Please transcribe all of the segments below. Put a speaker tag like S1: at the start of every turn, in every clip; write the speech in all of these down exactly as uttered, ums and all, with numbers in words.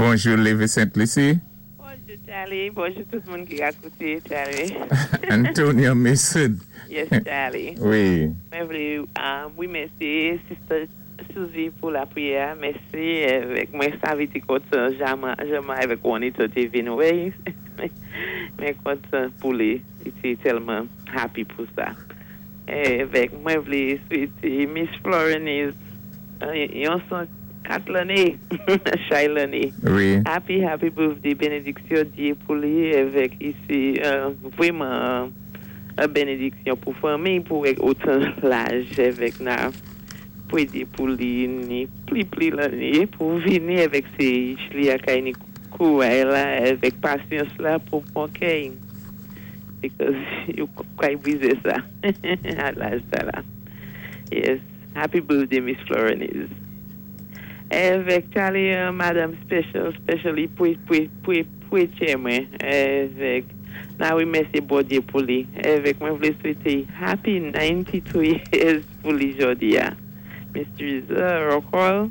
S1: Bonjou, Lévis Sainte-Lucie.
S2: Bonjou, Charlie. Bonjou tout moun ki ap kouté, Charlie.
S1: Antonia Mason.
S2: Yes, Charlie.
S1: Wi.
S2: Mwen vlé, um, wi, mèsi, Sister Suzy, pou lapriyè. Mèsi, avèk mwen savé té kontan, janman, janman avèk Juanita té vin wè. Mwen kontan pou li. Li té tèlman happy pou sa. Avèk mwen vlé swété Miss Florence yon san kat lanné, chay lanné.
S1: Wi.
S2: Happy, happy birthday, bénédiksyon Dye pou li, avèk isi, euh, vrèman, euh, bénédiksyon pou fanmi, pou otan laj avèk nan, pou édé pou li, ni pli pli lanné, pou vini avèk sé li kay ni kouray la, avèk pasyans la pou pwan kè. Because yo kay brizé sa, a laj sa la. Yes, happy birthday, Miss Florence. Avèk Charlie, euh, Madame Special, specially pou, pou, pou, pou mwen, avèk, nan wi, mèsi Bondye pou li. Avèk mwen vlé swété happy ninety-two years pou li jodi a. Miss Teresa Rockall,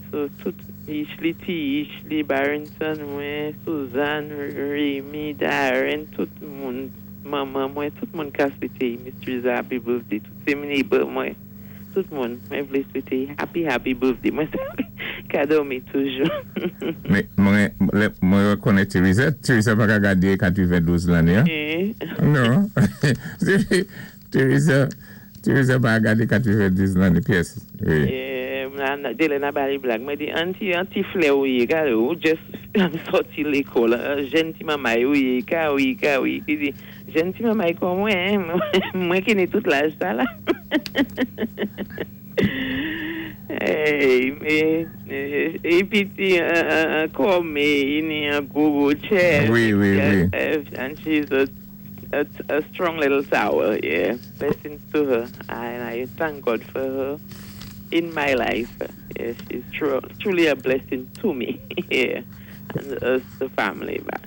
S2: so tout Ishli T, Ishli Barrington, mwen, Suzanne, Rémi, Darren, tout moun, manman mwen, tout moun ka swété Miss Teresa happy birthday, tout sé neighbor mwen, tout moun, mwen vlé swété happy, happy birthday. Mwen ka dòmi toujou.
S1: Mé mwen, mwen rékonnèt Teresa. Teresa pa ka gadé katwenndous lanné. Hein?
S2: Eh.
S1: Non. Teresa, Teresa pa gadé katwenndous lanné pyès. Wi.
S2: Eh, nan, dé lè n ap ba li blag. Mwen di, anti, anti flè ou yé, gade ou just sòti lékòl, jèn ti manmay ou yé, ka wi, ka wi. Pi di, jèn ti manmay kon mwen, mwen ki ni tout laj sa la. Hey, mé, épi ti, kòm, li ni an gwo gwo chest.
S1: Wi, wi, wi.
S2: And she's a, a, a strong little tower, yeah. Blessings to her. And I thank God for her in my life. Yeah, she's tru- truly a blessing to me. Yeah. And us, the family. But.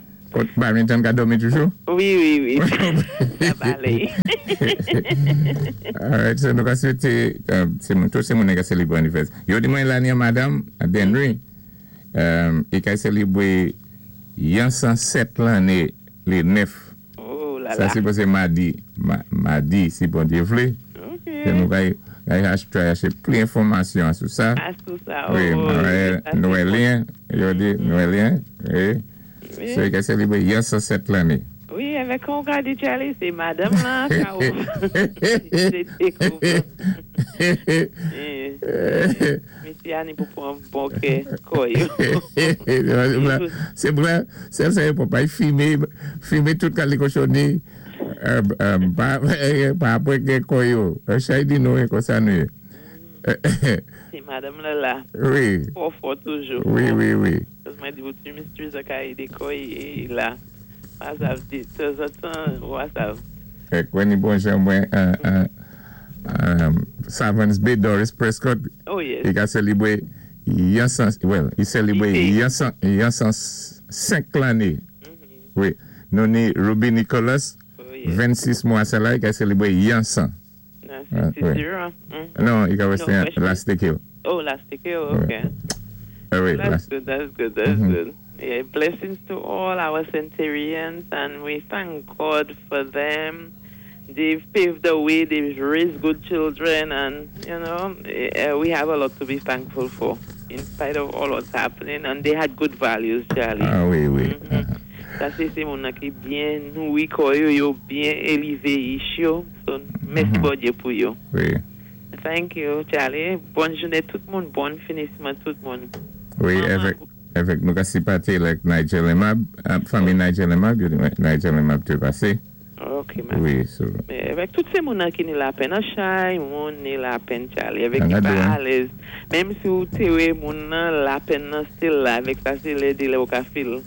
S1: Barrington ka dòmi toujou?
S2: Wi, wi, wi. Sa va alé.
S1: Alright, so nou ka swété, euh, sé moun, tout sé moun ka sélébré anivèsè. Yo di mwen la ni Madame Denry, euh, i ka sélébré yon san sèt lanné lé nèf.
S2: Oh la
S1: Sa
S2: la.
S1: sé pasé madi, ma, madi, si Bondye vlé.
S2: Ok.
S1: So nou ka ka chaché plis enfòmasyon sou sa.
S2: Ah, sou sa.
S1: Wi,
S2: Oh,
S1: Noël,
S2: sa, sé bon.
S1: Noëlien, yo di Noëlien, wi.
S2: Wi.
S1: So i ka sélébré yon san sèt lanné.
S2: Wi, avèk kon ka di Charlie, sé madanm la, ka ou. Sé dékouvan. Eh, Mesye a ni pou pwan bon kè kò yo.
S1: Sé vwè, sé sa pou pa fimen, fimen tout kali kochonni, euh, euh, pa pa apwé kè kò yo. Chay di nou kon sa nou.
S2: Sé madanm la la.
S1: Wi.
S2: Fò fò toujou.
S1: Wi, wi, wi.
S2: Paski mwen di ou ti Miss Teresa ka édé kò y la. Pa sav di, tanzantan, wa sav.
S1: Ek wè ni bon jan mwen, euh, euh, euh, Savants Bay, Doris Prescott,
S2: Oh yes.
S1: i ka sélébré yon san, well, i sélébré
S2: I
S1: yon san, yon san senk lanné. Wi. Nou ni Ruby Nicholas,
S2: Oh yes.
S1: vennsis mwa sa la, i ka sélébré yon san.
S2: Nan,
S1: Ah,
S2: se
S1: wi.
S2: zéro. Mm.
S1: Non, i ka
S2: No,
S1: wè se
S2: question.
S1: last kill.
S2: Oh, last kill, okay.
S1: Ah, wi,
S2: That's
S1: last.
S2: good, that's good, that's
S1: Mhm.
S2: good. Yeah, blessings to all our centurions, and we thank God for them. They've paved the way, they've raised good children, and, you know, eh, we have a lot to be thankful for, in spite of all what's happening. And they had good values, Charlie.
S1: Ah, wi, wi.
S2: Mhm. Sa, sé sé moun ki byen nouri kò yo, yo byen élevé ich yo. So, mèsi
S1: Mhm.
S2: Bondye pou yo.
S1: Wi.
S2: Thank you, Charlie. Bòn jounen tout moun, bon finisman tout moun.
S1: Wi,
S2: Manman.
S1: avèk, avèk nou ka sipòté like Nigel Emab, euh, fanmi Nigel Emab, yo di, Nigel Emab té pasé.
S2: Ok, man.
S1: Wi, so.
S2: Mé avèk tout sé moun ki ni lapenn, an chay moun ni lapenn, Charlie, avèk
S1: An
S2: ki
S1: a
S2: pa
S1: dou, hein?
S2: alèz. Menm si ou té wè moun nan, lapenn nan still la, avèk sa sé lè di lè ou ka feel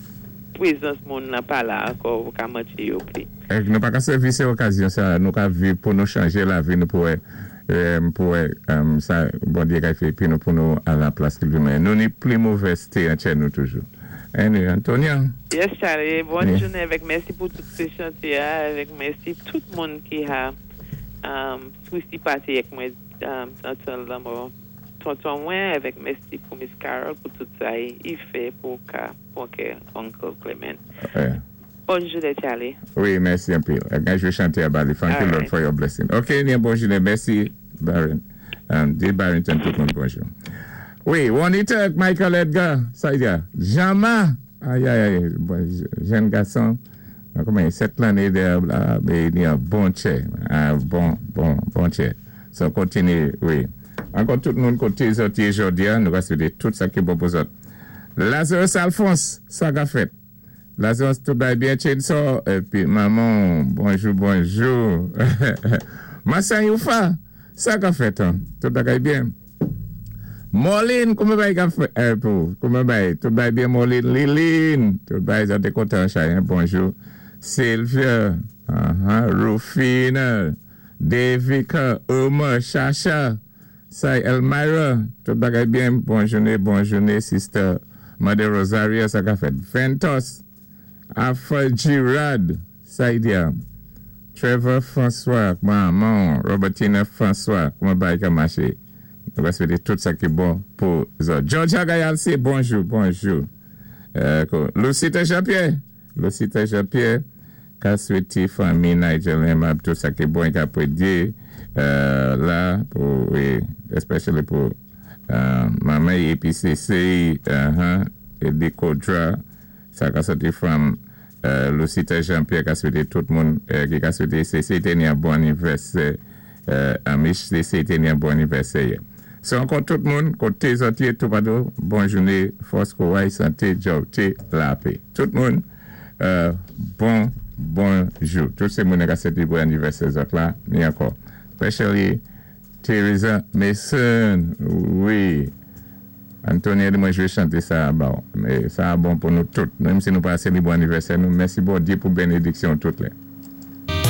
S2: prezans moun nan pa la ankò, ou ka manti yo pli.
S1: Ek nou pa ka sèvi sé okazyon sa, nou ka viv pou nou chanjé lavi nou pou wè, euh, pou wè, um, sa Bondye ka fè pi nou pou nou a la plas ki li Nou ni pli movèzté an chè nou toujou. Anyway, Antonia.
S2: Yes, Charlie, bòn
S1: Yeah.
S2: jounen avèk mèsi pou tout sé chanté, avèk mèsi tout moun ki a um, sou sipòté avèk mwen um, an lanmò. tonton mwen, avèk mèsi pou Miss Carol pou tout sa i fè pou ka pou ke Uncle Clement.
S1: Ouais.
S2: Bòn jounen, Charlie.
S1: Wi, mèsi anpil. Je vais chanter à Bali. Thank you,
S2: All
S1: Lord,
S2: right.
S1: for your blessing. OK, byen, bòn jounen. Mèsi, Baron. Um, di Barrington, tout moun bonjou. Wi, Juanita, Michael Edgar, sa y est. Jama, aïe, aïe, aïe, bon, jèn gason, kouman, sèt lanné de, la, mé ni yon bon tchè, yon bon, bon, bon tchè. So, kontiné, wi. Ankò tout moun koté zòt yé jòdi a, nou va swété tout sa ki bon pou zòt. Lazarus Alphonse, sa ka fèt. Lazarus, tout bay byen Chainsaw, épi manman, bonjou, bonjou. Massan Youfa, sa ka fèt, hein? Tout bagay byen. Moline, kouman bay ka fèt? Eh, pou, kouman bay? Tout bay byen Moline, Liline, tout bay, zòt kontan, Chayen, bonjou. Sylvia, uh-huh, Rufina, Devika, Omar, Shasha, Say Elmira, tout bagay byen, bòn jounen, bòn jounen, sister Mother Rosaria, sa ka fèt. Ventos, Alpha Girard, Saidia, Trevor François, manman, Robertina François, kouman bay ka maché? Nou va swété tout sa ki bon pou zòt. Georgia Gayalsi, bonjou, bonjou. Euh, ko- Lucita Jean-Pierre, Lucita Jean-Pierre, ka swété fanmi Nigel Hemab, tout sa ki bon ka pwédyé, euh, la, pou, wi, especially pou euh, manman E P C C, uh-huh, Eddie Kodra, sa ka soti from euh, Lucita Jean-Pierre ka swété tout moun euh, ki ka swété C C té ni yon bon anivèsè, euh, Amish C C té ni yon bon anivèsè. So ankò tout moun, koté zòt yé tout patou, bòn jounen, fòs kouray, santé, djòwté, lapè. Tout moun, euh, bon, bonjou. Tout sé moun ka swété bon anivèsè zòt la, ni ankò. Especially Teresa Mason, wi. Antonia di mwen jwé chanté sa bon, mé sa bon pou nou tout. Menm si nou pa sélébré anivèsè nou, mèsi Bondyé pou bénédiksyon tout lè.